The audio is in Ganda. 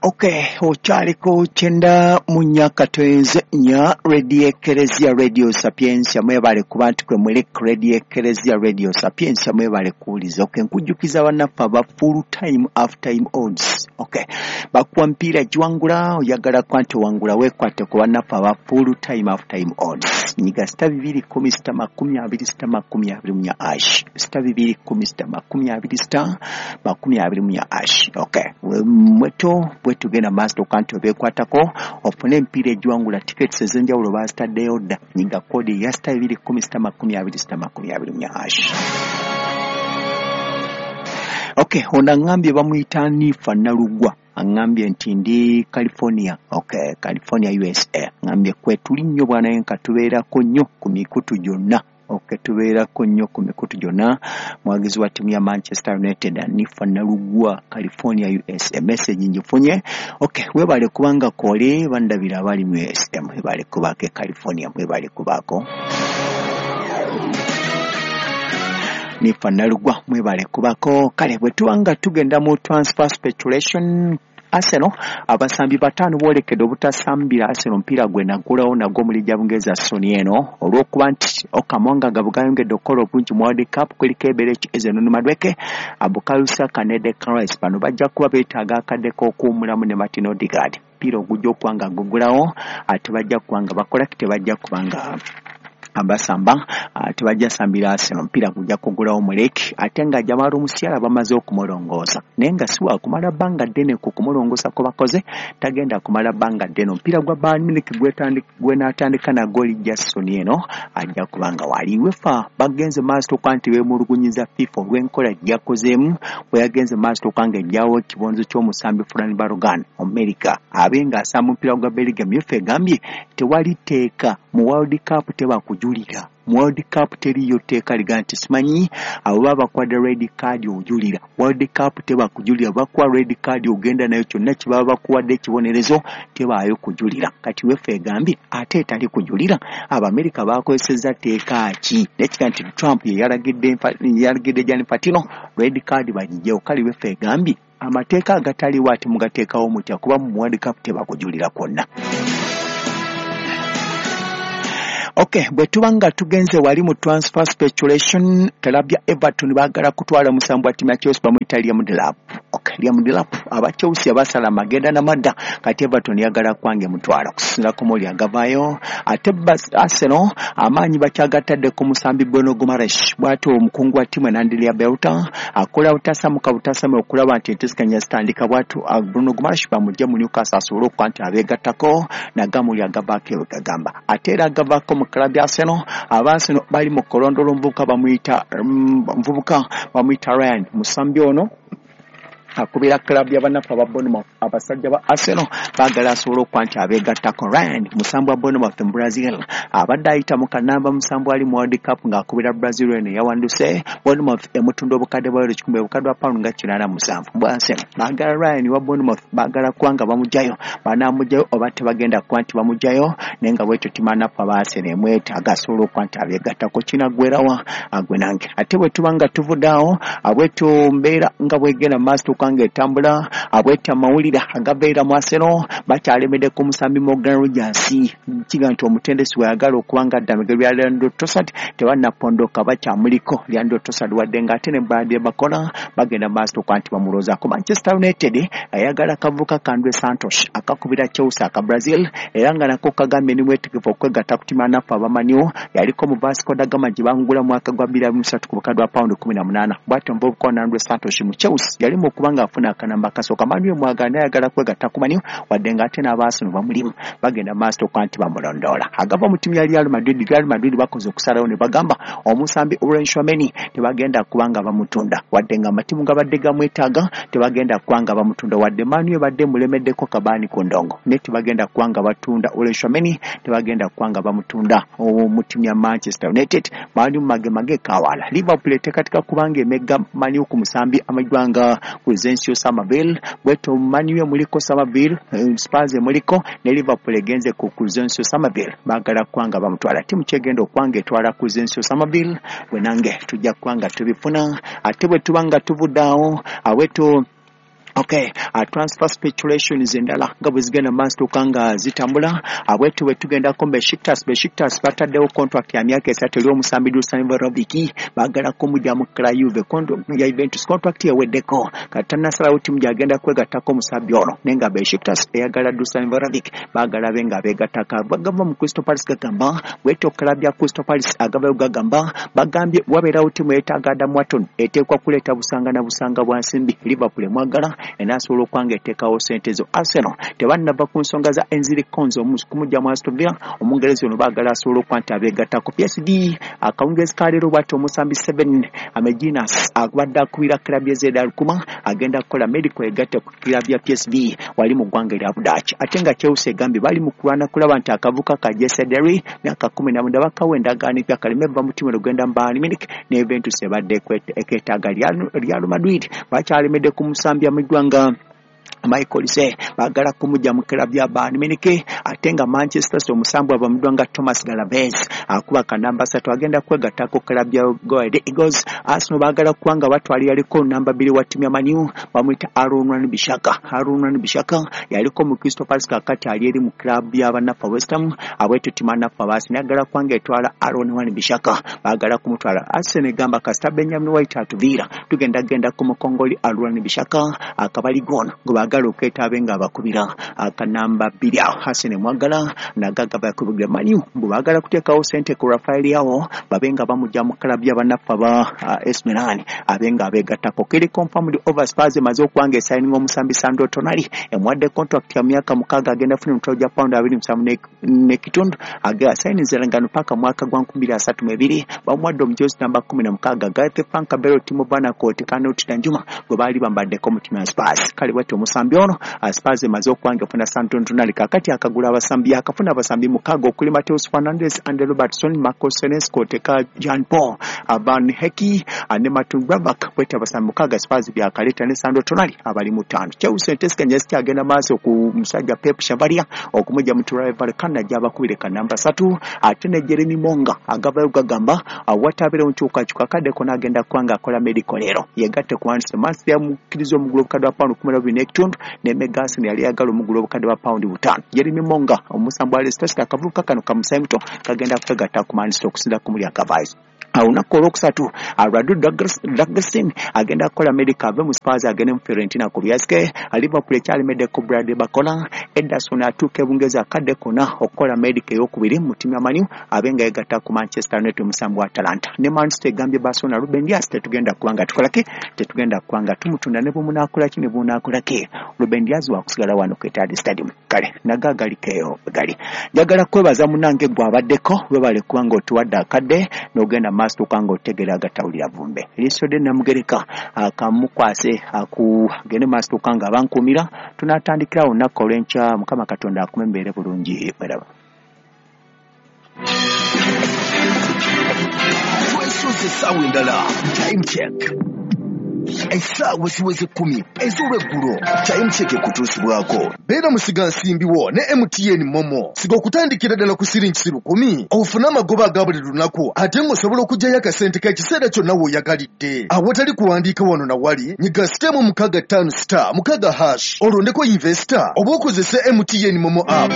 Okay, okyaliko 94.4 Radio Ekereziya Radio Sapientia, mwebale kuba nti kwe muli Radio Ekereziya Radio Sapientia, mwebale kuwuliza. Okay, nkujjukiza bannaffe aba full time half time odds. Okay, bakuwa mpiira giwangula, oyagala kuba nti owangula weekwate ku bannaffe aba full time half time odds. Nyiga *210 *20 *24 hash *210 *20 *24 hash. Okay, mweto bwetugenda maaso okuba nti obeekwatako ofune emipiira egiwangula, tickets ez'enjawulo baazitaddeyo dda. Nyiga code ya *210 *20 *24 hash. Okay, ono aŋŋambye bamuyita Nifa Nalugwa, aŋŋambye nti ndi California. Okay, California USA. Aŋŋambye kwetuli nnyo bwanaye nka tubeerako nnyo ku mikutu gyonna. Okay, tubeerako nnyo ku mikutu gyonna. Mwagizi wa ttiimu ya Manchester United, Nifa Nalugwa, California USA. Message ngifunye. Okay, weebale kubanga kole bandabira abali mu USA, mwebale kubaako e California, mwebale kubaako. Nifa Nalugwa, mwebale kubako. Kale bwe tuba nga tugenda mu transfer speculation, Arsenal abasambi 5 boolekedde obutasambira Arsenal omupiira gwe naggulawo nagwo mu liigi ya Bungereza soni eno, olw'okuba nti Okamonga nga bugayongedde okukola obulungi mu World Cup, kuliko Eberechi Eze, Noni Madueke, Bukayo Saka ne Declan Rice. Bano bajja kuba beetaaga akadde k'okuwummulamu ne Martin Odegaard. Omupiira ogujja okuba nga gugulawo tebajja kuba nga bakola, tebajja kuba nga abasamba, tebajja sambira Arsenal omupiira gujja kugulawo muleki. Ate nga Jamal Musiala bamaze okumulongoosa, naye nga si wakumala bbanga ddene ku kumulongoosa kwe bakoze, tagenda kumala bbanga ddene. Omupiira gwa Bayern Munich gwenaatandika nagwo lijja soni eno ajja kuba nga wali. UEFA bagenze maaso okuba nti beemulugunyiza FIFA olw'enkola gyakozeemu bwe yagenze maaso okuba nga ejjawo ekibonerezo ky'omusambi Fran Balogun Omumerika abe ng'asamba omupiira gwa Belgium. UEFA egambye tewali tteeka mu World Cup, teba kujulira mu World Cup, teriiyo tteeka liga nti simanyi abo baba bakuwadde red card ojulira. World Cup teba kujulira, bakuwa red card ogenda nayo, kyonna kye baba bakuwadde ekibonerezo tebaayo kujulira. Kati UEFA egambye ate etali kujulira, Abamerika bakozesezza tteeka ki? Nekiga nti Trump ye yalagidde Gianni Infantino red card bagigyewo. Kale UEFA egambye amateeka agataliwo ate mugateekawo mutya, kuba mu World Cup tebakujulira kwonna. Okay, bwe tuba nga tugenze wali mu transfer speculation, club ya Everton baagala kutwala musambi wa ttiimu ya Chelsea bamuyita Liam Delap. Okay, Liam Delap aba Chelsea abasala amagenda n'amadda, kati Everton yagala kwange mutwala kusinziira ku mawulire agavaayo. Ate Arsenal amaanyi bakyagatadde ku musambi Bruno Guimaraes. Bw'atyo omukungu wa ttiimu Andrea Berta akola butasamuka butasamu okulaba nti enteeseganya zitandika, bw'atyo Bruno Guimaraes bamugye mu Newcastle asobole okuba nti abeegattako nagamuli agavaako ebyo gagamba. Ate era agavaako mu club ya Arsenal, aba Arsenal bali mu kulondoola omuvubuka bamuyita omuvubuka bamuyita Ryan. Musambi ono akubira club y'abannaffe aba Bournemouth. Abasajja ba Arsenal baagala asobole okuba nti abeegattako. Ryan musambi wa Bournemouth mu Brazil, abadde ayita mu kanamba musambi ali mu World Cup ng'akubira Brazil eno yawanduse. Bournemouth emutunda obukadde bwa euro 1,000, obukadde bwa pound nga 87. Bwa Arsenal baagala Ryan wa Bournemouth, baagala kuba nga bamuggyayo, banaamuggyayo oba tebagenda kuba nti bamuggyayo, naye nga bwetyo timanaffe aba Arsenal emwetaaga asobole okuba nti abeegattako. Kinaggwerawa agwe nange. Ate bwe tuba nga tuvudde awo, bwetyo mbeera nga bwegenda mu maaso okuba nga etambula, abwetya amawulire agabeera mu Arsenal bakyalemedde ku musambi Morgan Rogers. Kiga nti omutendesi weyagala okuba nga adda migero bya Leandro Trossard tebannapondoka, bakyamuliko Leandro Trossard, wadde ng'ate ne Bradley Barcola bagenda maaso okuba nti bamulowoozaako. Manchester United ayagala akavubuka ka Andre Santos akakubira Chelsea aka Brazil, era nga nako kagambye ni mwetegefu okwegatta ku ttiimu anaffe aba Man U. Yaliko mu Vasco da Gama gye bangula mwaka gwa 2023 ku bukadde bwa pound 18. Bw'atyo omuvubuka ono Andre Santos mu Chelsea yali mu okuba ng'afuna akanamba akasooka. Man U emwagala, naye ayagala kwegatta ku Man U, wadde ng'ate n'aba Arsenal bamulimu bagenda maaso okuba nti bamulondoola. Agava mu ttiimu ya Real Madrid, Real Madrid bakoze okusalawo ne bagamba omusambi Aurelien Tchouameni tebagenda kuba nga bamutunda, wadde nga amatiimu gabadde gamwetaaga, tebagenda kuba nga bamutunda, wadde Man U ebadde emulemeddeko kabaani ku ndongo, naye tebagenda kuba nga batunda Aurelien Tchouameni, tebagenda kuba nga bamutunda mu ttiimu ya Manchester United. Man U magemage kawala. Liverpool eteekateeka kubanga emegga Man U ku musambi amanyiddwa nga Crysencio Summerville. Bwetyo Man U emuliko Summerville, Spurs emuliko ne Liverpool egenze ku Crysencio Summerville, baagala kuba nga bamutwala. Ttiimu kyegenda okuba nga etwala Crysencio Summerville bwe nange tujja kuba nga tubifuna. Ate bwe tuba nga tuvudde awo, aweto okay, Transfer speculations endala nga bwe zigenda maaso tuuka nga zitambula, bwetyo bwe tugendako Besiktas. Besiktas bataddewo contract ya myaka 3 eri omusambi Dusan Vlahovic, baagala kumugya mu Juve ya Juventus, contract eweddeko kati tannasalawo ttiimu gy'agenda kwegattako omusambi ono, naye nga Besiktas eyagala Dusan Vlahovic, baagala be nga beegattako. Bagava mu Crystal Palace gagamba bwetyo club ya Crystal Palace agavayo gagamba bagambye wabeerawo ttiimu yeetaaga Adam Wharton, eteekwa kuleeta busanga na busanga bwa nsimbi. Liverpool emwagala enaasobola okwanga eteekawo ssente zo. Arsenal tebannava ku nsonga za Enziri Konzo kumujja mu Aston Villa, omungereza ono baagala asobola okuba nti abeegattako. PSG akawungezi ka leero bw'ati omusambi 7 Ameginas abadde akubira club ya Zed Alkmaar agenda kukola medical egatte ku club ya PSV wali mu ggwanga erya Budaaki. Ate nga Chelsea egambye bali mu kulwana kulaba nti akavuka ka Jesse Derry myaka 19 bakawa endagaano empya kaleme va mu ttiimu olugenda mu Bayern Munich, ne Juventus ebadde ekeetaaga Real Madrid bakyalemedde ku musambi amanyiddwa nga Michael Olise, baagala kumujja mu club ya Bayern Munich. Ate nga Manchester City omusambi abamuddwa nga Thomas Galaves akuba kanamba 3 agenda kwegattako club ya Go Ahead Eagles. Arsenal baagala kuba nga batwala yaliko namba 2 wa ttiimu ya Man U bamuyita Aaron Wan-Bissaka. Aaron Wan-Bissaka yaliko mu Crystal Palace, kakati ali eri mu club ya bannaffe West Ham, abwetyo ttiimu bannaffe Arsenal ayagala kuba nga etwala Aaron Wan-Bissaka, baagala kumutwala. Arsenal egamba kasita Benjamin White atuviira tugenda genda ku mukongoli Aaron Wan-Bissaka akabali gono gwe baagala okwetaabe nga abakubira akanamba 2 awo. Arsenal mwagala nagaga bakubira Man U mbu baagala kuteekawo ssente ku Rafael Leao babe nga bamujja mu club ya bannaffe aba AC Milan abe nga abeegattako. Kiri confirmed over Spurs emaze okuba nga esayininga omusambi Sandro Tonali, emuwadde contract ya myaka 6 agenda kufuna emitwalo gya pawundi 27 n'ekitundu, asayininze endagaano paka mwaka gwa 2032. Bamuwadde omujozi namba 16 Gareth Frank Bale, Timo Werner, Kanoti Danjuma gwe baali bambaddeko mu ttiimu ya Spurs. Kale bwetyo omusambi ono Spurs emaze okuba nga efuna Sandro Tonali, kakati akagula abasambi, akafuna abasambi 6 okuli Mateus Fernandes, Andy Robertson, Marco Senesi, Teka Jean Paul Van Hecke ne Martin Gravak. Bwetyo abasambi 6 Spurs byakaleeta ne Sandro Tonali abali mu 5. Chelsea enteeseganya zikyagenda maaso ku musajja Pep Chavaria okumujja mu Rayo Vallecano gy'abakubire ka namba 3, ate ne Jeremy Monga agavayo gagamba watabeerewo nkyukakyuka kaddeko n'agenda kuba ng'akola medical leero yegatte ku Manchester. Manchester yamukkiriza omugula obukadde bwa pawundi 12.5 ne Megasin yali ayagala omugula obukadde bwa pawundi 5. Jeremy Monga omusambi wa Leicester City akavubuka kano kamusayi muto kagenda kwegatta ku Manchester okusinza ku muli akavaayo. Olunaku olwokusatu Radu Dragusin agenda kukola medical ave mu Spurs agende mu Fiorentina ku byasike. Liverpool ekyalemeddeko Bradley Barcola. Ederson atuuka e Bungereza akadde konna okukola medical ey'okubiri mu ttiimu ya Man U abe nga yeegatta ku Manchester United omusambi wa Atalanta. Ne Manchester egambye Barcelona Ruben Dias tetugenda kuba nga tukolaki, tetugenda kuba nga tumutunda ne bwemunaakola ki ne bwemunaakola ki, Ruben Dias wakusigala wano ku Etihad Stadium. Kale nago agalikeeyo gali. Njagala kwebaza munnange gwe abaddeko, webale kuba nga otuwadde akadde n'ogenda maaso tuuka nga otegeera agatawulira vumbe. Erisodde Namugereka akamukwase akugende maaso tuuka nga abankuumira. Tunaatandikirawo olunaku olw'enkya. Mukama Katonda akume mbeere bulungi mweraba. Twesuze essaawa endala. Time check. Essaawa ziweze 10 ez'olweggulo. Time check ekutuusibwako. Beera musigansimbi wo ne MTN Momo. Siga okutandikira ddala ku siringi 10,000 ofune amagoba aga buli lunaku, ate ng'osobola okuggyayo akasente k'ekiseera kyonna w'oyagalidde. Awatali kuwandiika wano na wali, nyiga *656*6# olondeko investor oba okozese MTN Momo app.